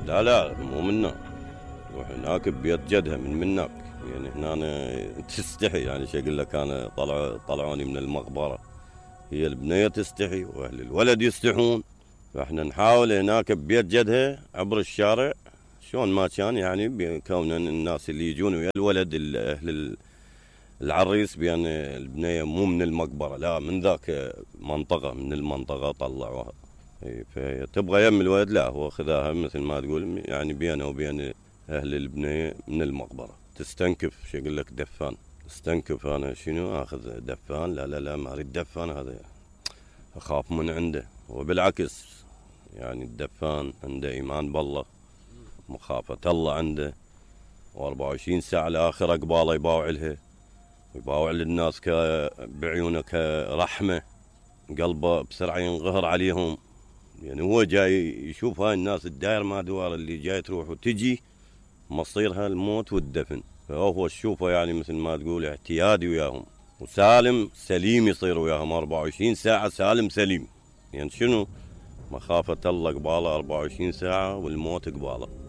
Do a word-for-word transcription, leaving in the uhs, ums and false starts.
لا لا مو منا، تروح هناك ببيت جدها من منك. يعني هنا تستحي، يعني شو اقول لك، انا طلعوا طلعوني من المقبره، هي البنيه تستحي واهل الولد يستحون. فاحنا نحاول هناك ببيت جدها عبر الشارع شلون ما كان، يعني كون الناس اللي يجون ويا الولد اهل العريس بان البنيه مو من المقبره، لا من ذاك منطقه من المنطقه طلعوها. فتبغى يم الولد، لا هو خذاها مثل ما تقول يعني بينه وبين اهل البنيه من المقبره. تستنكف شو اقول لك دفان، استنكف انا شنو اخذ دفان؟ لا لا لا ما اريد دفان، هذا اخاف من عنده. وبالعكس يعني الدفان عنده ايمان بالله، مخافه الله عنده، واربعة وعشرين ساعه الاخره قباله يباوع لها ويباوع للناس بعيونه كرحمه، قلبه بسرعه ينقهر عليهم. يعني هو جاي يشوف هاي الناس الداير ما دوار اللي جاي تروح وتجي مصيرها الموت والدفن، فهو تشوفه يعني مثل ما تقول اعتيادي وياهم، وسالم سليم يصير وياهم أربعة وعشرين ساعة سالم سليم. يعني شنو؟ مخافة الله قباله أربعة وعشرين ساعة والموت قباله.